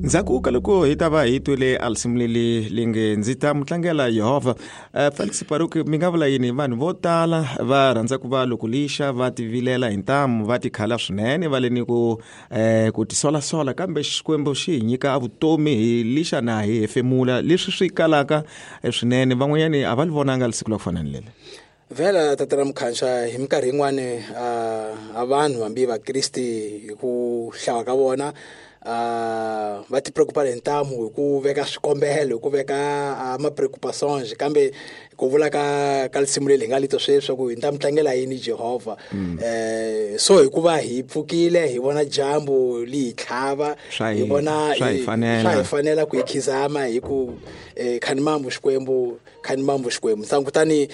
Ndzhaku ka loko hi ta va hi twile a risimu leli li nge ndzi ta mu tlangela Yehovha. Felix Baruki, mi nga vula yini? Vanhu vo tala va rhandza ku va loko lixa va tivilela hi ntamu, va tikhala swinene, va le ni ku ku tisolasola, kambe Xikwembu xi hi nyika vutomi hi lixa na hi hefemula, leswi swi kalaka swinene. Van'wanyani a va li vonanga siku la ku fana ni leli. Vhela tatana Mukhansha, hi minkarhi yin'wani a vanhu hambi vakristi hi ku hlaya ka vona va ti preocupa hi ntamu hi ku veka swikombelo, hi ku veka ma preoccupations, kambe ku vula ka risimu leri hi nga lito sweswi ku hi ta mi tlangela yini Jehovha. So hikuva hi pfukile hi vona dyambu li hi tlhava, hi vona swa hi fanela. Swa hi fanela ku hi khizama hi ku khanimambu Xikwembu, khanimambu Xikwembu. Nsangu kutani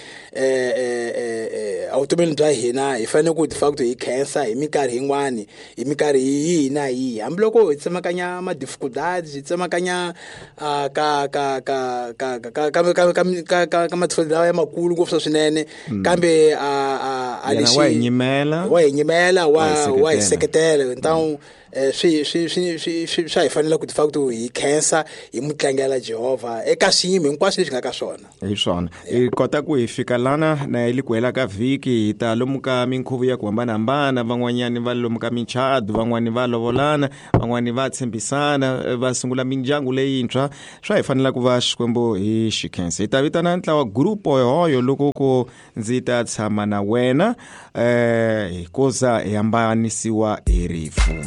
evutomini bya hina hi fanele ku de facto hi khensa hi minkarhi yin'wani, hi minkarhi yihi na yihi, hambiloko hi tsemakanya ma difficulties, hi tsemakanya ka ka ka ka ka ka ka ka ka ka ka ka ma difficulties lawa ya makulu ngopfu swinene, kambe a Yena lexi wa hi nyimela, wa hi nyimela, wa hi wa hi seketela. seketela. Ntawu swi swi swi swi swi swa hi fanela ku de facto hi khensa hi mu tlangela Jehovha eka swiyimo hinkwaswo leswi nga ka swona. Hi swona. Hi kota ku hi fika lana na hi li ku hela ka vhiki, hi ta lomu ka minkhuvo ya ku hambanahambana, van'wanyani va lomu ka michado, van'wani va lovolana, van'wani va tshembisana, va sungula mindyangu leyintshwa. Swa hi fanela ku va Xikwembu hi xi khensa. Hi ta vitana ntlawa grupo hoyo loko ku ndzi ta tshama na wena, hi kuza hi hambanisiwa hi rifu.